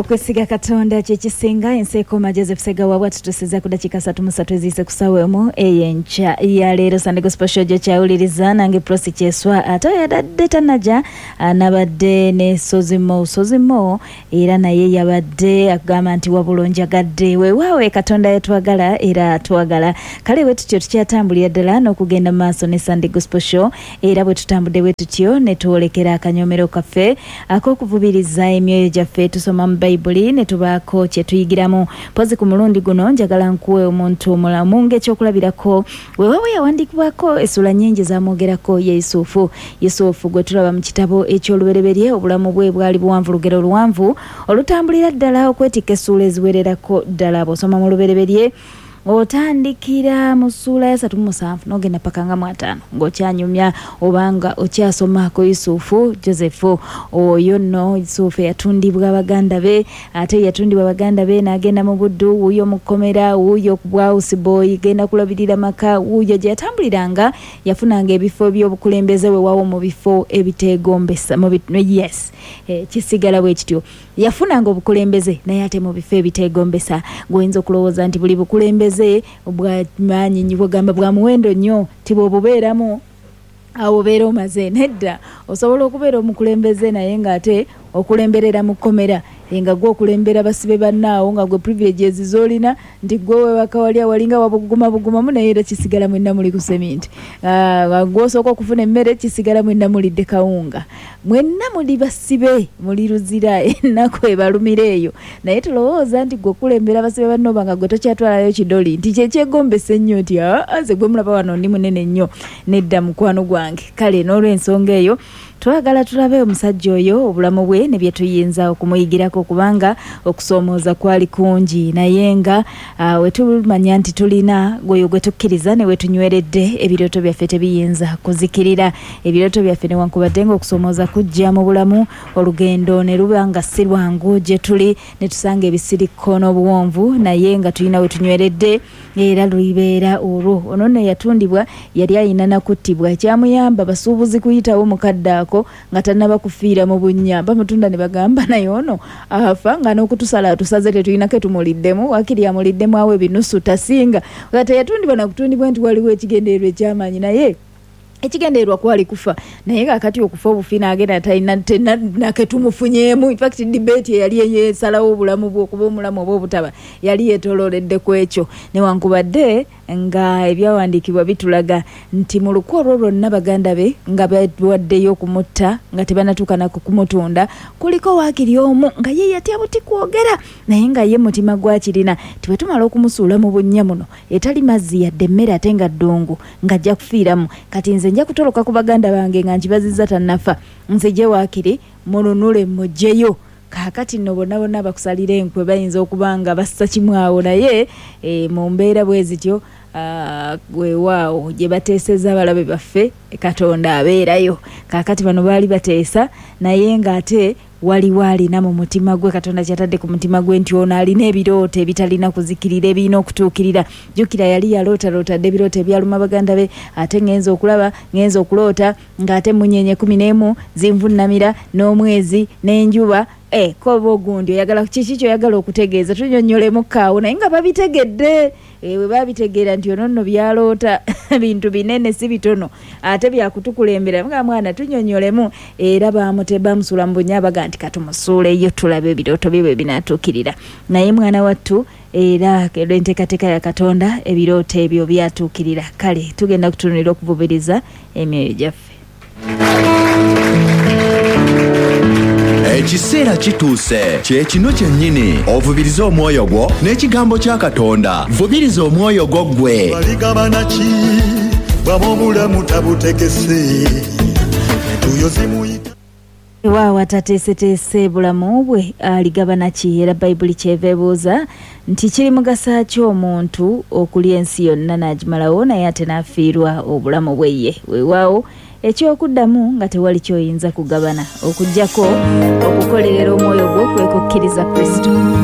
Okwesiga Katonda kye kisinga. Ensi ekoma. Joseph Segawa bwatutusiza ku dakiika 33 eziyise ku ssaawa 1 ey'enkya ya leero. Sunday Gospel Show gyo kyawuliriza nange Prossy Kyeswa, ate oyo adadde tanaja nabadde ne Sozimo Sozimo, era naye yabadde akugamba nti wabula onjagadde. Weewaawe, Katonda yatwagala era atwagala. Kale bwe tutyo tukyatambulira ddala n'okugenda mu maaso ne Sunday Gospel Show, era bwe tutambudde bwe tutyo ne twolekera akanyomero kaffe ak'okuvubiriza emyoyo gyaffe. Tusoma mu Bayibuli ne tubaako kye tuyigiramu. Mpozi ku mulundi guno njagala nkuwe omuntu omulamu ng'ekyokulabirako. Weewaawo yawandiikibwako essula nnyingi zamwogerako, ye Yusufu. Yusufu gwe tulaba mu kitabo eky'Olubereberye, obulamu bwe bwali buwanvu, lugero luwanvu olutambulira ddala okwetikka essuula eziwererako ddala. Bw'osoma mu Lubereberye, otandikira mu ssuula ya 37 n'ogenda paka nga mu 50 ng'okyanyumya obanga okyasoma ku Yusufu Joseph oyo nno. Yusufu eyatundibwa baganda be, ate yatundibwa baganda be n'agenda mu buddu, wuuyo mu kkomera, wuuyo ku bwa houseboy, genda kulabirira maka, wuuyo gye yatambuliranga, yafunanga ebifo by'obukulembeze, weewaawo mu bifo ebiteegombesa. Yes, kisigala bwe kityo, yafunanga obukulembeze naye ate mu bifo ebiteegombesa. Gweoyinza okulowooza nti buli bukulembeze bwa maanyi, bwegamba bwa muwendo nnyo, ti bw'obubeeramu awo obeera omaze. Nedda, osobola okubeera omukulembeze naye ng'ate okulemberera mu kkomera, nga gwe okulembera basibe bannaawo, nga gwe privileges z'olina nti gwe webaka wali awalinga wabuguma bugumamu, naye era kisigala mwenna muli ku seminti. Gwe osooka okufuna emmere, kisigala mwenna mulidde kawunga, mwenna muli basibe, muli luzira, ennaku ebalumira eyo. Naye tulowooza nti gwe okulembera basibe banno oba nga gwe tokyatwalayo kidoli nti kyekyegombesa ennyo nti aa, nze gwe mulaba wano ndi munene nnyo. Nedda, mukwano gwange. Kale n'olw'ensonga eyo twagala tulabe omusajja oyo, obulamu bwe ne bye tuyinza okumuyigirako, kubanga okusoomooza kwali kungi, naye nga we tumanya nti tulina gweyo gwe tukkiriza ne we tunyweredde, ebirooto byaffe tebiyinza kuzikirira. Ebirooto byaffe, newankubadde nga okusoomooza kujja mu bulamu, olugendo ne luba nga si lwangu gye tuli, ne tusanga ebisirikko n'obuwonvu, naye nga tulina we tunyweredde, era lulibeera olwo. Ono nno yatundibwa, yali ayina nakuttibwa. Ekyamuyamba basuubuzi kuyitawo mukadde ako nga tannaba kufiira mu bunnya. Bamutunda ne bagamba, naye ono afa nga n'okutusala atusaze, tetulina ke tumuliddemu, wakiri amuliddemu awo ebinusu tasinga. Nga teyatundibwa nakutundibwa nti waliwo ekigendererwa ekyamaanyi, naye ekigendererwa kwali kufa. Naye kakati okufa obufi n'agenda talina nake tumufunyeemu. Infact debate eyali eyesalawo obulamu bwe okuba omulamu oba obutaba yali yeetoolooledde ku ekyo, newankubadde nga ebyawandiikibwa bitulaga nti mu lukwe olwo lwonna baganda be nga bawaddeyo okumutta nga tebanatuuka nako kumutunda, kuliko waakiri omu nga ye yatya buti kwogera, naye nga ye mutima gwakirina ti bwe tumala okumusuula mu bunnya muno etali mazzi yadde emmere, ate nga ddungu, ng'ajja kufiiramu. Kati nze nja kutoloka ku baganda bange nga nkibazizza tannafa, nzije waakiri mununule mugyeyo. Kaakati nno bonna bonna bakusalira enkwe bayinza okuba nga bassa kimu awo, naye mu mbeera bwe zityo, weewaawo gye bateeseza abalabe baffe, Katonda abeerayo. Kaakati bano baali bateesa, naye ng'ate waliwo alina mu mutima gwe, Katonda kyatadde ku mutima gwe nti ono alina ebirooto ebitalina kuzikirira, ebirina okutuukirira. Jjukira yali yalootaloota dde ebirooto ebyaluma baganda be, ate ŋŋenza okulaba, ŋŋenza okuloota ng'ate munyenye 11 zinvunnamira n'omwezi n'enjuba. Koba ogundi oyagala kiki kyoyagala okutegeeza, tunyonnyolemu kaawo. Naye nga babitegedde, bwe babitegeera nti ono nno byaloota bintu binene si bitono, ate byakutukulembera nga mwana, tunyonnyolemu. Era bamusuula mu bunnya, baga nti katumusuuleyo tulabe ebirooto bye bwe binaatuukirira. Naye mwana wattu, era enteekateeka ya Katonda, ebirooto ebyo byatuukirira. Kale tugenda kutunulira okuvubiriza emyoyo gyaffe. Ekiseera kituuse, kyekino kyennyini ovubirize omwoyo gwo n'ekigambo kya Katonda. Vubiriza omwoyo gwo ggwe. Baligabana ki bwaba obulamu tabutegese, entuuyo zimuyita. Waawo, atateeseteese bulamu bwe aligabana ki? Era Bayibuli kyeva ebuuza nti kiri mugasa ki omuntu okulya ensi yonna n'agimalawo, naye ate n'afiirwa obulamu bwe ye? Weewaawo, ekyokuddamu nga tewali kyoyinza kugabana okuggyako okukolerera omwoyo gwo kwe kukkiriza Kristo.